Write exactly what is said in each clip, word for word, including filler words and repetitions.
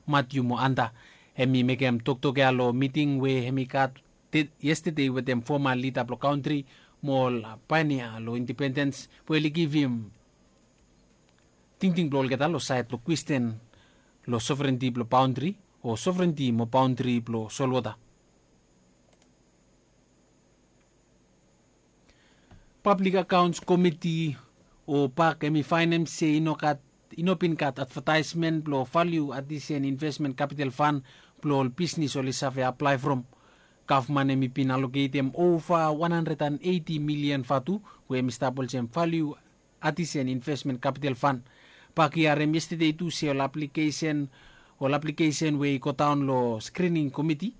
Matiu mo Anta. Hem i mekem toktok ya long miting we hem i gat yestede wetem foma lida blong kantri mo ol paenia long indipendens we oli givim tingting blong olgeta long sait blong kwestin long sovrenti blong baontri o sovrenti mo baontri blong solwota. Pablik akaons komiti o pak hem i faenem se i no bin gat advataesmen blong valiu adisen invesmen kapital fan blong ol bisnis oli save aplae from. Gavman hem i bin aloketem ova wan handred an eiti milian vatu we hem i stap olsem valiu adisen invesmen kapital fan. Pak i harem yestede tu se ol aplikesen ol aplikesen we i godaon long skrining komiti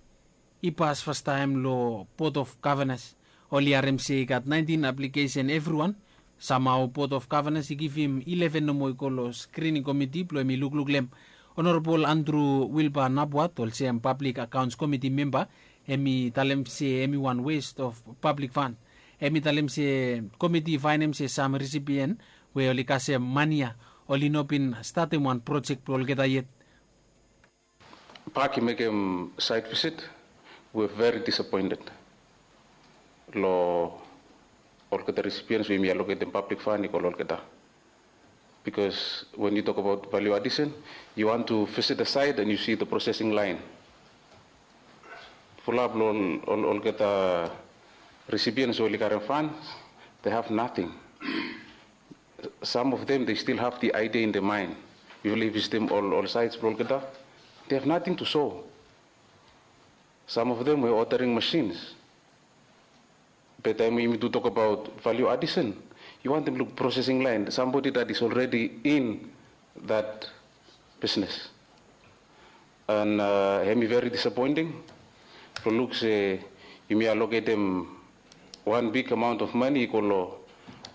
i pas fastaem long bot of gavanas. Oli harem se i gat naentin aplikesen evriwan. Samhao bot of gavanas i givim ileven nomo i go long skrining komiti blong hem i lukluk long hem. Onorabol andru wilba napwat olsem pablik akaons komiti memba hem i talem se hem i wan west of pablik fan. Hem i talem se komiti i faenem se sam risipien we oli kasem mani ya oli no bin statem wan projek blong olgeta yet. Pak i mekem sait visit. We veri disapoented long olgeta risipiens we yumi aloketem pablik fan i go long olgeta. Bikos wen yu tok abaot valiu adisen yu want tu visit the sait and yu si the prosesing laen. Fulap long olgeta risipiens we oli karem fan, they have nating. Sam of them they stil have the aidia in the maen. Yufala i visitim ol saits blong olgeta, they have nating tu so. Sam of them we odaring masins. Be taem we yumi tu tok abaot valiu adisen, yu wantaem luk prosesing laen sambodi dat is olredi in dat bisnes. An hem i veri disapoenting blong luk se yumi aloketem wan bik amaon of mani i go long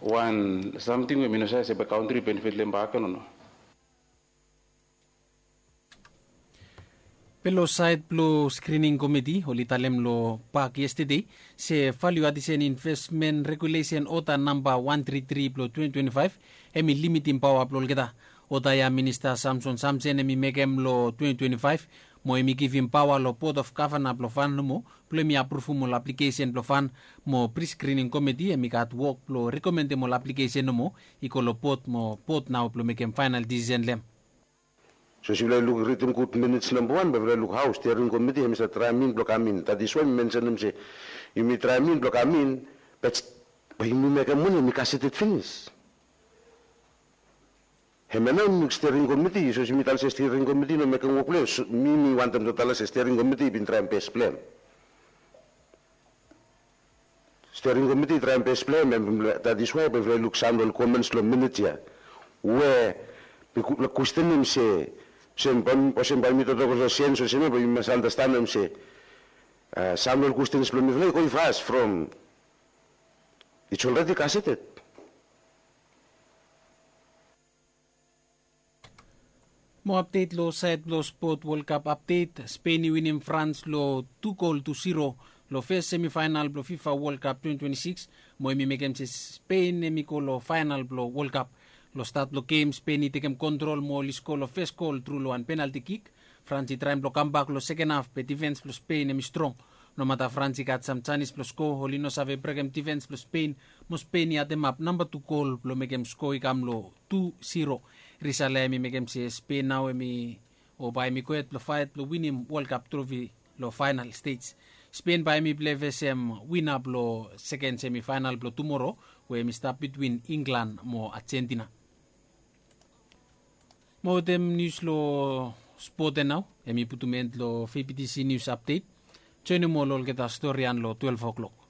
wan samting we mi no save se bae kantri i benefit long hem bak o no. Be long sait blong skrining komiti oli talem long pak yestede se valiu adisen invesmen regulesen oda namba wan tri tri blong twenty twenty five hem i limitim paoa blong olgeta. Oda ya minista samson samsen hem i mekem long twenty twenty five mo hem i givim paoa long bot of gavana blong fan nomo blong hem i apruvum ol aplikesen blong fan mo priskrining komiti hem i gat wok blong rekomendem ol aplikesen nomo i go long bot mo bot nao blong mekem faenal disisen long hem. So se yufala i luk ritim gud minits namba wan bae yufala i luk hao stiaring komiti hem i save traem in blong kam in dat is wae mi mensenem se yumi traem in blong kam in, bat bae yumi mekem moni hem i kaseted finis. Hem ya nao mi luk stiaring komiti so se mi talem se stiaring komiti i no mekem wok blong hem. Mi mi wantem tu talem se stiaring komiti i bin traem bes blong hem. Stiaring komiti i traem bes blong hem em dat is wae bae yufala i luk sam long ol komens long minit ya we mi kwestenem se olsem bae mi toktok olsem sens olsem ya bae mi mas anastenem se sam long ol kwestens blong mifala i go i fas from its olredi kaseted. Mo apdet long saed blong spot wolkap apdet, spen i winim frans long tu gol tu siro long fes semifaenal blong fifa wolkap twenty twenty six. Mo hem i mekem se spen hem i go long faenal blong wolkap. Long stat blong gem spen i tekem kontrol mo oli sko long fes gol tru long wan penalti kik. Frans i traem blong kambak long seken haf be difens blong spen hem i strong. Nomata frans i gat sam janis blong sko oli no save brekem difens blong spen mo spen i ademap namba tu gol blong mekem sko i kam long tu siro. Risala hem i mekem se spen nao hem i o bae hem i gohed blong faet blong winim wolkap trofi long faenal stej. Spen bae hem i plei fesem wina blong seken semifaenal blong tumoro we hem i stap bitwin inglan mo ajentina. Mo wetem nius long spot ya nao hem i putum en long fepitisi nius apdet. Joenem ol olgeta stori ya long twelef oklok.